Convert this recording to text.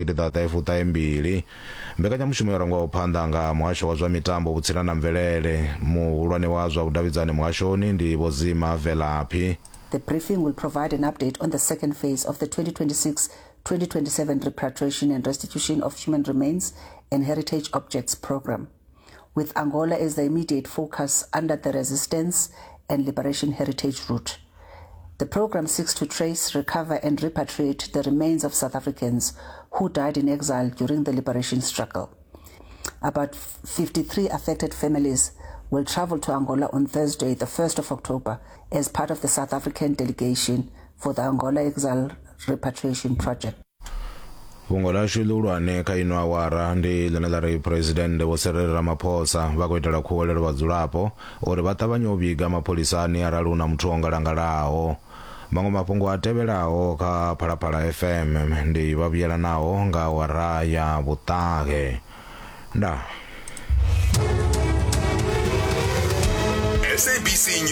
2022. Mbekanyamushumo yo rangwaho phanḓa nga muhasho wa zwa mitambo, vhutsila na mvelele. Muhulwane wa zwa vhudavhidzani muhashoni ndi Vho Zima Velaphi. The briefing will provide an update on the second phase of the 2026-2027 Repatriation and Restitution of Human Remains and Heritage Objects Programme, with Angola as the immediate focus under the Resistance and Liberation Heritage Route. The program seeks to trace, recover and repatriate the remains of South Africans who died in exile during the liberation struggle. About 53 affected families will travel to Angola on Thursday, the 1st of October, as part of the South African delegation for the Angola Exile Repatriation Project. Fhungo ḽashu ḽihulwane kha ino awara ndi ḽine ḽa ri Phresidennde Vho Cyril Ramaphosa vha khou itela khuwelelo vhadzulapo uri vha ṱavhanye u vhiga mapholisani arali hu na muthu o ngalangalaho. Maṅwe mafhungo a tevhelaho kha Phalaphala FM ndi vha vhuyelanaho nga awara ya vhuṱahe. Ndaa.